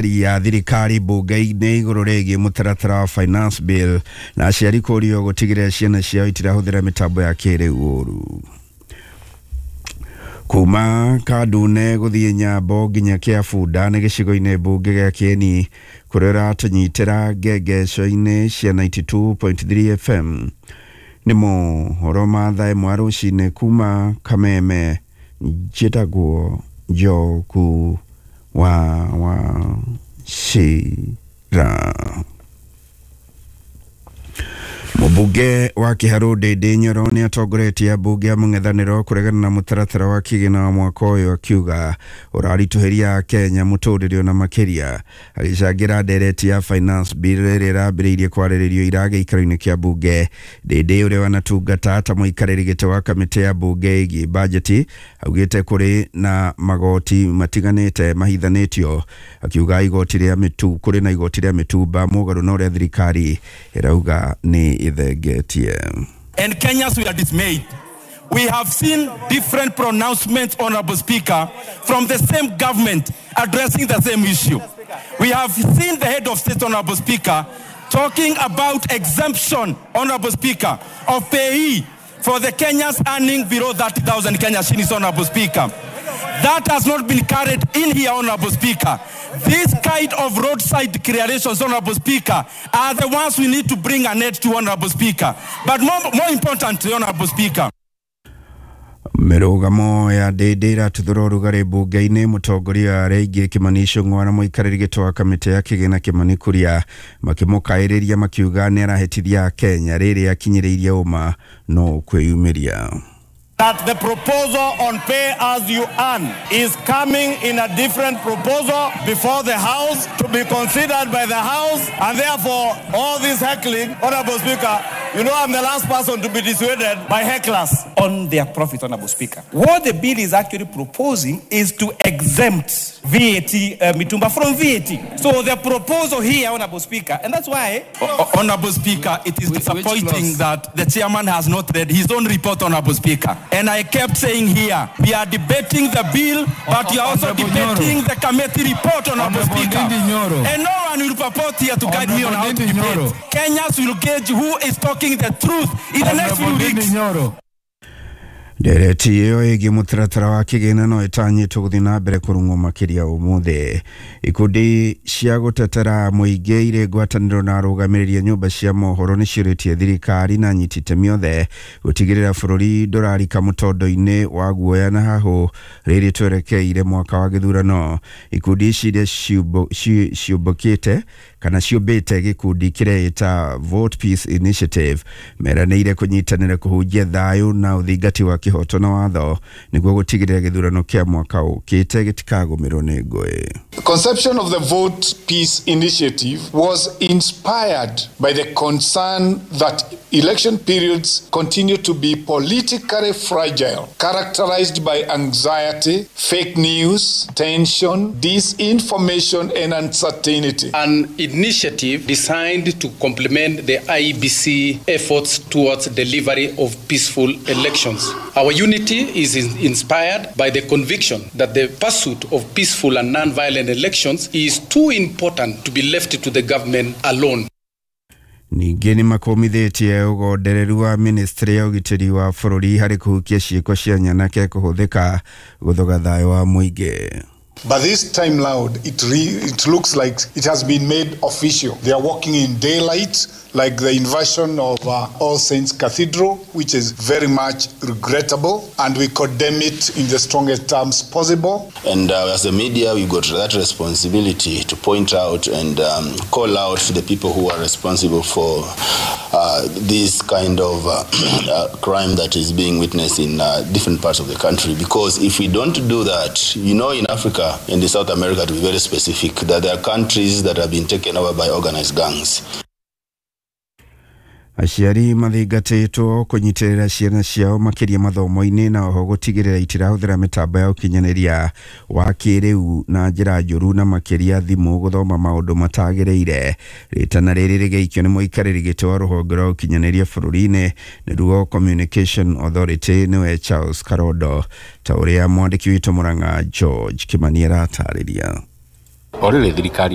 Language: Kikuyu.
Ya thirikari mbunge-inĩ igũrũ rĩgiĩ mũtaratara wa finance bill na aciari kũrio gũtigĩrĩra ciana ciao itirahũthĩra mĩtambo ya kĩrĩu ũru. Kuma Kandune gũthiĩ Nyambo nginya Kĩabunda nĩ gĩcigo-inĩ mbunge gĩa Kĩeni kũrĩa ũratũnyitĩra ngengeco-inĩ cia 92.3 FM. Nĩ mohoro ma thaa ĩmwe rũcinĩ kuma Kameme. Njĩtagwo Njoku wa Wachira. Mũmbunge wa Kĩharũ Ndĩndĩ Nyoro nĩ atongoretie ambunge a mũng'ethanĩro kũregana na mũtaratara wa kĩgĩna wa mwaka ũyũ, akiuga ũraritũhĩria Kenya mũtũrĩre ona makĩria. Agĩcangĩra ndereti ya finance bill ĩrĩa ĩrambĩrĩirie kwarĩrĩrio ira gĩikaro-inĩ kĩa mbunge, Ndĩndĩ ũrĩa wanatungata ta mũikarĩri gĩtĩ wa kamĩtĩ ya mbunge ĩgiĩ bajeti augĩte kũrĩ na magoti matiganĩte mahithanĩtio, akiuga igoti rĩa mĩtu kũrĩ na igoti rĩa mĩtumba mũgarũ na ũrĩa thirikari ĩrauga nĩ ĩthengetie. And Kenyans, we are dismayed. We have seen different pronouncements, Honorable Speaker, from the same government addressing the same issue. We have seen the head of state, Honorable Speaker, talking about exemption, Honorable Speaker, of PAYE for the Kenyans earning below 30,000 Kenya shillings, Honorable Speaker. That has not been carried in here, Honorable Speaker. This kind of roadside declarations, Honorable Speaker, are the ones we need to bring an end to, Honorable Speaker. But more importantly, Honorable Speaker, Mĩrũgamo ya Ndĩndĩ ĩratuthũra ũrugarĩ mbunge-inĩ. Mũtongoria arĩa aingĩ Kĩmani Ichung'wa na mũikarĩri gĩtĩ wa kamĩtĩ ya kĩgĩna Kĩmani Kuria makĩmũkaĩrĩria makiuga nĩ arahĩtithia Kenya rĩrĩa akinyĩrĩirie ũma no kwĩyumĩria. That the proposal on pay as you earn is coming in a different proposal before the House to be considered by the House, and therefore all this heckling, Honorable Speaker, you know I'm the last person to be dissuaded by hecklers. On their profit, Honorable Speaker. What the bill is actually proposing is to exempt VAT, Mitumba from VAT. So the proposal here, Honorable Speaker, and that's why... Honorable Speaker, it is disappointing that the chairman has not read his own report, Honorable Speaker. And I kept saying here, we are debating the bill, but you are also debating the committee report, Honorable Speaker. And no one will purport here to guide me on how to debate. Kenyans will gauge who is talking the truth in the next few weeks. Ndereti ĩyo ĩgiĩ mũtaratara wa kĩgĩna no ĩtanyĩtwo gũthiĩ na mbere kũrung'wo makĩria ũmũthĩ. Ikundi cia gũtetera mũingĩ irĩ ngwatanĩro na arũgamĩrĩri a nyũmba cia mohoro nĩ ciũrĩtie thirikari na anyiti itemi othe gũtigĩrĩra bũrũri ndũrarika mũtondo-inĩ wa guoya na hahũ rĩrĩ twerekeire mwaka wa gĩthurano. Ikundi ici iria ciũmbũkĩte kana ciũmbĩte gĩkundi kĩreĩta Vote Peace Initiative meranĩire kũnyitanĩra kũhunjia thayũ na ũthingati wa kĩhoto na watho nĩguo gũtigĩrĩra gĩthurano kĩa mwaka ũkĩte gĩtikagũmĩrwo nĩ ngũĩ. The conception of the Vote Peace Initiative was inspired by the concern that election periods continue to be politically fragile, characterized by anxiety, fake news, tension, disinformation, and uncertainty. An initiative designed to complement the IEBC efforts towards delivery of peaceful elections. Our unity is inspired by the conviction that the pursuit of peaceful and non-violent elections is too important to be left to the government alone. Ningĩ nĩ makũmithĩtie ũgondereru wa ministry ya ũgitĩri wa bũrũri harĩ kũhukia ciĩko cia nyanake kũhũthĩka gũthoga thayũ wa mũingĩ. But this time round, it looks like it has been made official. They are working in daylight, like the invasion of All Saints Cathedral, which is very much regrettable, and we condemn it in the strongest terms possible. And as the media, we've got that responsibility to point out and call out the people who are responsible for this kind of crime that is being witnessed in different parts of the country. Because if we don't do that, you know, in Africa, in the South America, to be very specific, that there are countries that have been taken over by organized gangs. Aciari mathingatĩtwo kũnyitĩrĩra ciana ciao makĩria mathomo-inĩ na oho gũtigĩrĩra itirahũthĩra mĩtambo ya ũkinyanĩria wa kĩrĩu na njĩra njũru na makĩria thimũ gũthoma maũndũ matagĩrĩire. Rĩtana rĩrĩ rĩgĩikio nĩ mũikarĩri gĩtĩ wa rũhonge rwa ũkinyanĩria bũrũri-inĩ nĩruo Communication Authority nĩwe Charles Karondo, ta ũrĩa mwandĩki witũ Mũrang'a George Kĩmani aratarĩria. O rĩrĩ thirikari.